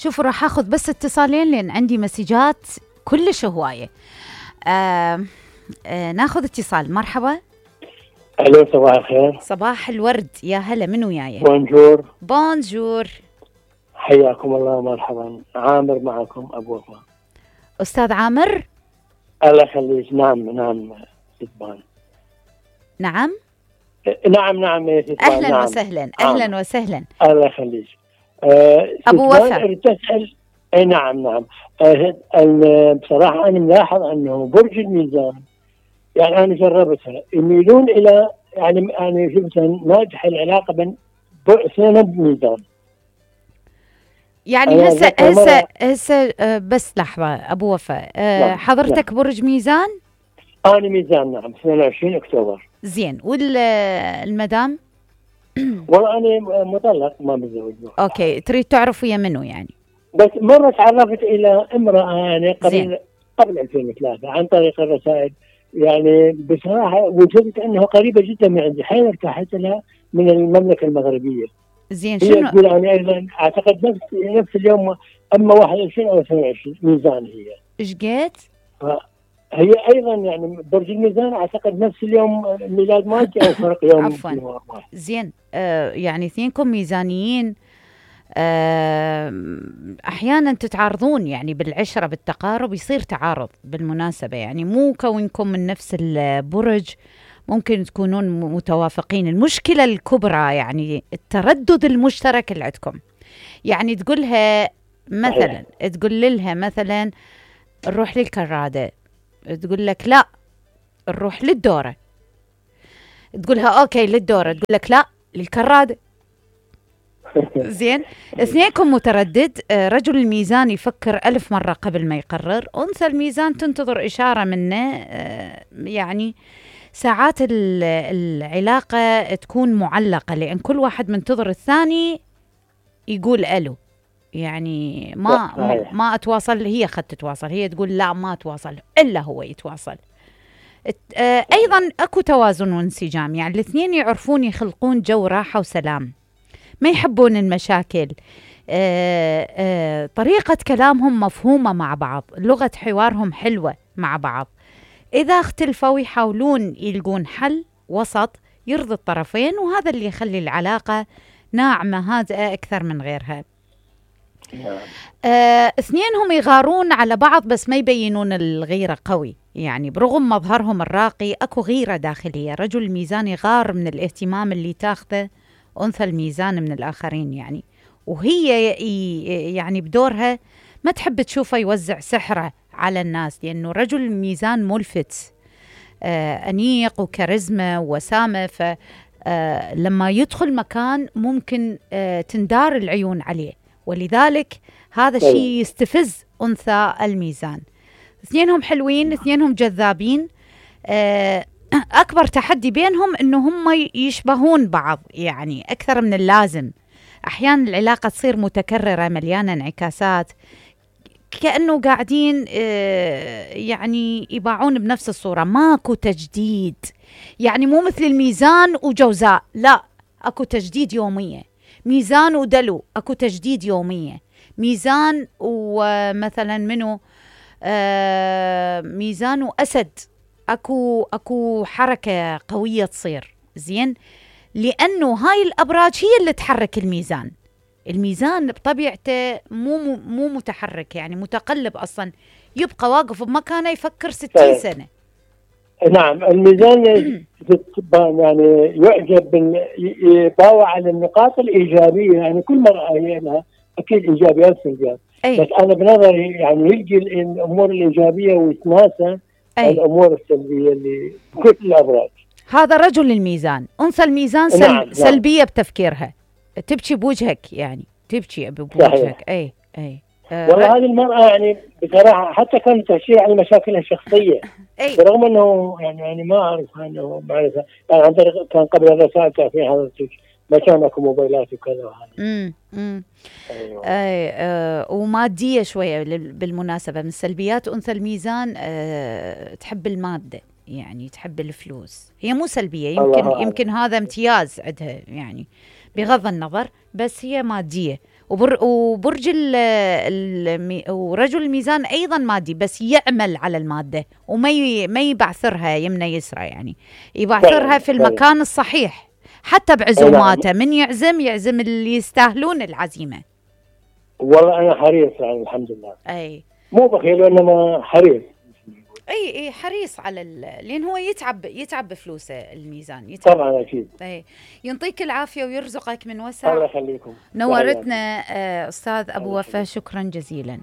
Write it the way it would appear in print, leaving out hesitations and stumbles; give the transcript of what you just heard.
شوفوا راح اخذ بس اتصالين لان عندي مسجات كلش هوايه. ناخذ اتصال. مرحبا. الو صباح الخير. صباح الورد، يا هلا، من وياي؟ بونجور. بونجور، حياكم الله، مرحبا. عامر معكم ابو وفاء. استاذ عامر. الله يخليك. نعم ستبان. نعم يا ستبان. اهلا نعم. وسهلا. اهلا وسهلا. الله يخليك. ابو وفاء. تسأل. اي نعم. بصراحه انا ملاحظ انه برج الميزان، يعني انا جربتها، يميلون الى يعني شفتها ناجحه العلاقه بين اثنين بميزان. يعني هسه بس لحظه ابو وفاء. حضرتك برج ميزان؟ انا ميزان، نعم، 22 اكتوبر. زين، والمدام؟ والله انا مطلق، ما متزوج. اوكي، تريد تعرف ويا منو يعني؟ بس مره تعرفت الى امراه يعني قبل 2003 عن طريق الرسائل، يعني بصراحه وجدت انه قريبه جدا من عندي، حين ارتحت لها من المملكه المغربيه. زين، هي شنو؟ تقول انا ايضا اعتقد نفس اليوم، اما 21 او 22 ميزان هي. ايش قالت؟ هي ايضا يعني برج الميزان، اعتقد نفس اليوم ميلاد مالتي او فرق يوم. عفوا. زين، يعني اثنينكم ميزانيين. احيانا تتعارضون يعني بالعشره، بالتقارب يصير تعارض بالمناسبه، يعني مو كونكم من نفس البرج ممكن تكونون متوافقين. المشكله الكبرى يعني التردد المشترك اللي عندكم. يعني تقولها مثلا، تقول لها مثلا نروح للكراده، تقول لك لا نروح للدوره. تقولها اوكي للدوره، تقول لك لا للكراده. زين، اثنينكم متردد. رجل الميزان يفكر 1000 مرة قبل ما يقرر. أنثى الميزان تنتظر إشارة منه. يعني ساعات العلاقة تكون معلقة، لأن كل واحد منتظر الثاني يقول ألو. يعني ما أتواصل، هي خد تتواصل، هي تقول لا ما أتواصل إلا هو يتواصل. أيضا أكو توازن وانسجام، يعني الاثنين يعرفون يخلقون جو راحة وسلام، ما يحبون المشاكل. طريقة كلامهم مفهومة مع بعض، لغة حوارهم حلوة مع بعض. إذا اختلفوا يحاولون يلقون حل وسط يرضي الطرفين، وهذا اللي يخلي العلاقة ناعمة هادئة أكثر من غيرها. اثنينهم يغارون على بعض بس ما يبينون الغيرة قوي، يعني برغم مظهرهم الراقي أكو غيرة داخلية. رجل الميزان يغار من الاهتمام اللي تاخذه أنثى الميزان من الآخرين، يعني وهي يعني بدورها ما تحب تشوفه يوزع سحره على الناس، لأنه رجل الميزان ملفت، أنيق وكاريزما ووسامة، فلما يدخل مكان ممكن تندار العيون عليه، ولذلك هذا الشيء يستفز أنثى الميزان. اثنينهم حلوين، اثنينهم جذابين. أكبر تحدي بينهم إنه هم يشبهون بعض يعني أكثر من اللازم. أحيانا العلاقة تصير متكررة مليانة انعكاسات، كأنه قاعدين يعني يباعون بنفس الصورة، ماكو تجديد. يعني مو مثل الميزان وجوزاء، لا، أكو تجديد يومية. ميزان ودلو أكو تجديد يومية. ميزان ومثلا منو ميزان وأسد أكو حركة قوية تصير. زين، لأنه هاي الأبراج هي اللي تحرك الميزان. الميزان بطبيعته مو متحرك، يعني متقلب أصلا، يبقى واقف بمكانه يفكر 60 سنة. نعم، الميزان يعني يعجب يباوع على النقاط الإيجابية، يعني كل مرة لها أكيد إيجابيات وسلبيات، بس أنا بنظري يعني يلقي الأمور الإيجابية ويتناسى الأمور السلبية اللي كل الأبراج. هذا رجل الميزان. أنثى الميزان نعم. سلبية بتفكيرها، تبكي بوجهك، يعني تبكي بوجهك. أي والله هذه المرأة يعني بصراحة حتى كانت تحكي عن مشاكلها الشخصية، برغم أنه يعني ما أعرف أنه معرفة، يعني عن طريق كان قبل الرسائل تعرفين حضرتك ما كان اكو موبايلات وكذا وهذا. أيوة. ومادية شوية بالمناسبة. من سلبيات أنثى الميزان تحب المادة، يعني تحب الفلوس. هي مو سلبية، يمكن هذا امتياز عندها يعني بغض النظر، بس هي مادية وبرج ورجل الميزان أيضا مادي، بس يعمل على المادة وما يبعثرها يمنى يسرى، يعني يبعثرها في المكان الصحيح حتى بعزوماته. من يعزم اللي يستاهلون العزيمة. والله أنا حريص يعني الحمد لله. أي مو بخيل وإنما حريص. اي حريص على لان هو يتعب بفلوسه الميزان، يتعب. طبعا اكيد. اي يعطيك العافيه ويرزقك من وسع. الله يخليكم. نورتنا استاذ ابو وفا، شكرا جزيلا.